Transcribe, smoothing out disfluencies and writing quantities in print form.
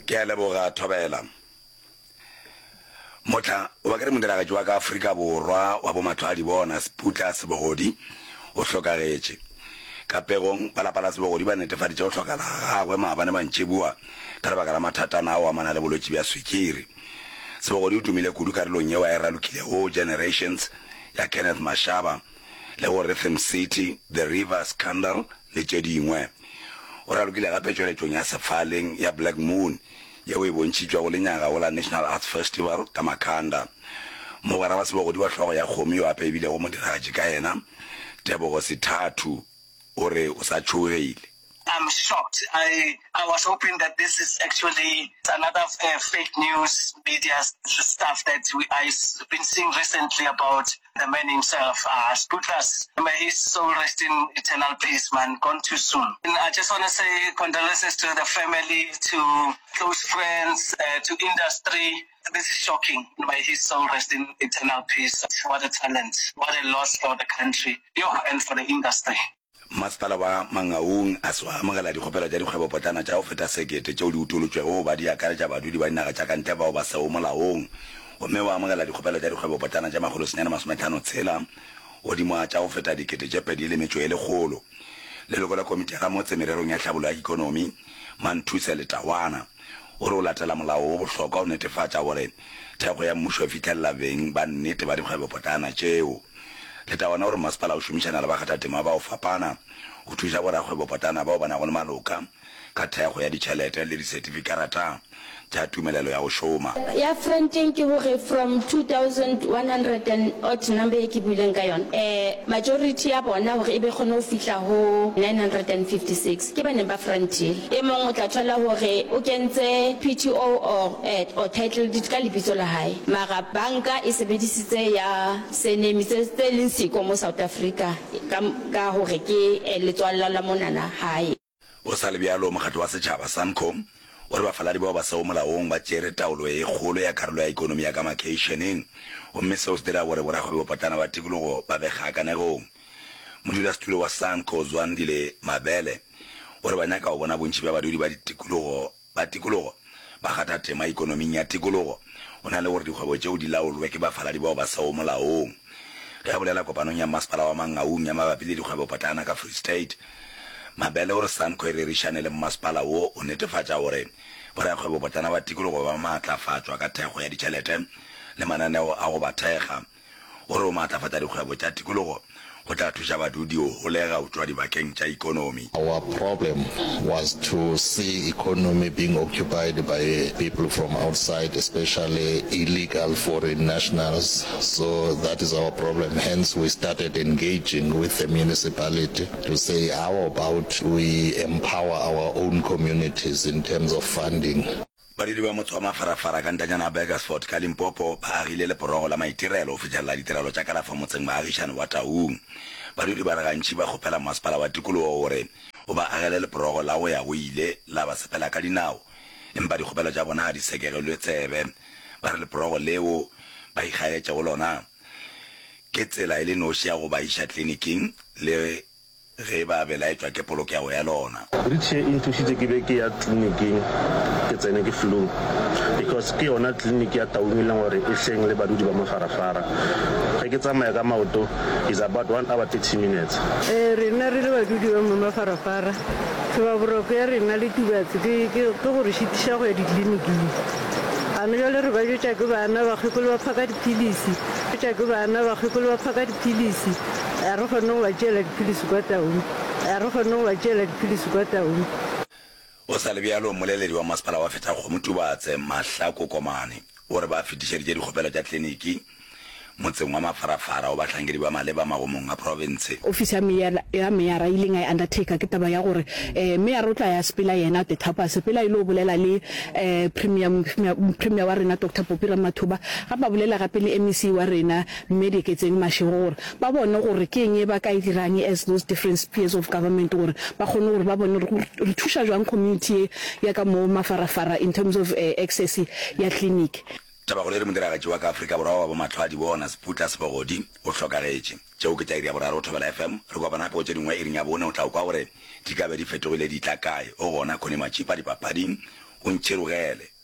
Ke a leboga, Thobela. Mohla, goba ke re modiragatši wa ka Afrika Borwa wa bomahlwaadibona, Seputla Sebogodi, o hlokagetše. Ka pegong, ba lapa la Sebogodi ba netefaditše go hlokala ga gagwe maabane mantšiboa ka lebaka la mathatana a go amana le bolwetši bja swikiri. Sebogodi o tumile kudu karolong yeo a e ralokilego Generations ya Kenneth Mashaba le go Rhythm City, The River Scandal le tše dingwe. O ralokile gape tšweletšong ya sefaleng ya Black Moon yeo e bontšhitšwego lenyaga go la National Arts Festival ka Makhanda. Mogwera wa Sebogodi wa hlogo ya kgomo yo gape e bilego modiragatši ka yena, Tebogo Sithathu, o re o sa tšhogile. I'm shocked. I I was hoping that this is actually another uh, fake news media stuff that we I've been seeing recently about the man himself. Uh, Sputlas, may his soul rest in eternal peace, man. Gone too soon. And I just want to say condolences to the family, to close friends, uh, to industry. This is shocking. May his soul rest in eternal peace. What a talent. What a loss for the country yo, and for the industry. Masepala wa Mangaung a se wa amogela dikgopelo tša dikgwebopotlana tša go feta sekete tšeo di utolotšwego go ba di akaretša badudi ba dinaga tša ka ntle bao ba sego molaong gomme wa amogela dikgopelo tša dikgwebopotlana tše 956 godimo ga tša go feta 2100. Leloko la komiti ya ramotse mererong ya tlhabollo ya ikonomi, Manthuse Letawana, o re o latela molao wo bohlokwa go netefatša gore thekgo ya mmušo e fihlelela beng ba nnete ba dikgwebopotlana tšeo. Letawana o re masepala o šomišana le bakgathatema ba go fapana go thuša borakgwebopotlana bao ba nago le maloka ka thekgo ya ditšhelete le disetifikarata tša tumelelo ya go šoma. Ya fronteng ke gore from 2100 and odd number ye ke buileng ka yona, majority ya bona gore e be kgone go fihla go 956 ke ba neng ba frontile. E mong o tla thola gore o kentse PTO or or title deed ka lebitso la hae mara banka e sebedisitse ya surname tse tse leng siko mo South Africa ka ka gore ke letswalla la monana hae. Go sa le bjalo, mokgatlo wa setšhaba, SANCO, o re bafaladi bao ba sego molaong ba tšere taolo e kgolo ya karolo ya ekonomi ya ka makheišeneng gomme seo se dira gore borakgwebopotlana ba tikologo ba be kgakanegong. Modulasetulo wa SANCO, Zwandile Mabele, o re ba nyaka go bona bontši bja badudi ba ditikologo ba tikologo ba kgatha tema ikonoming ya tikologo go na le gore dikgwebo tšeo di laolwe ke bafaladi bao ba sego molaong. Ge a bolela kopanong ya Mmasepala wa Mangaung ya mabapi le dikgwebopotlana ka Free State, Mabele o re SANCO e rerišane le mmasepala wo go netefatša gore borakgwebopotlana ba tikologo ba maatlafatšwa ka thekgo ya ditšhelete le mananeo a go ba thekga. O re go maatlafatša dikgwebo tša tikologo go tla thuša badudi go holega go tšwa dibakeng tša ikonomi. Our problem was to see economy being occupied by people from outside, especially illegal foreign nationals. So that is our problem. Hence we started engaging with the municipality to say how about we empower our own communities in terms of funding. Badudi ba motse wa Mafarafara ka ntanyana ya Burgersfort ka Limpopo ba agile leporogo la maitirelo go fihlelela ditirelo tša kalafo motseng baagišane wa Taung. Badudi ba re gantši ba kgopela masepala wa tikologo gore o ba agele leporogo la go ya go ile la ba sepela ka dinao, empa dikgopelo tša bona ga di sekegelwe tsebe. Ba re leporogo leo ba ikgaetšego lona ke tsela e le noši ya go ba iša kliniking le Ge ba belaetšwa ke polokego ya lona. Bridge ye e nthušitše ke be ke ya tleliniking ke tsene ke flu because ke yona tleliniki ya Taung e leng gore e hleng le badudi ba Mafarafara. Ge ke tsamaya ka maoto is about one hour 30 minutes. Ee, rena re le badudi ba mo Mafarafara, tlhobaboroko ya rena le Tubatse ke, ke, ke go re šitiša go ya ditleliniking. Gane bjale re ba jwetša ke bana, bakgekolo ba phaka diphilisi, jwetša ke bana, bakgekolo ba phaka diphilisi. Ga re kgone go ba tšeela diphilisi kwa Taung. Ga re kgone go ba tšeela diphilisi kwa Taung. Go sa le bjalo, mmoleledi wa masepala wa Fetakgomo Tubatse, Mahlako Komane, o re ba fetišeditše dikgopelo tša kliniki motseng wa Mafarafara go bahlankedi ba maleba magomong a profense. Ofisi ya mayor ya meyara e ileng ya e undertaker ke taba ya gore eh meyara o tla ya sepela yena at the top a sepela e lo bolela le eh premier premier wa rena Doctor Poppy Ramathuba gape a bolela gape le MEC wa rena Mme Dieketseng Mashego gore ba bone gore ke eng e ba ka e dirang as those different spheres of government gore ba kgone gore ba bone gore re thuša jwang community ye ya ka mo Mafarafara in terms of access ya clinic. Tabakgolo e re modiragatši wa ka Afrika Borwa wa bomahlwaadibona, Seputla Sebogodi, o hlokagetše. Tšeo ke tša iri ya boraro go Thobela FM. Re kopana gape go tše dingwe iring ya bone o tla kwa gore di ka be di fetogile di tla kae. O gona Connie Matšipa dipapading. O ntšhirogele.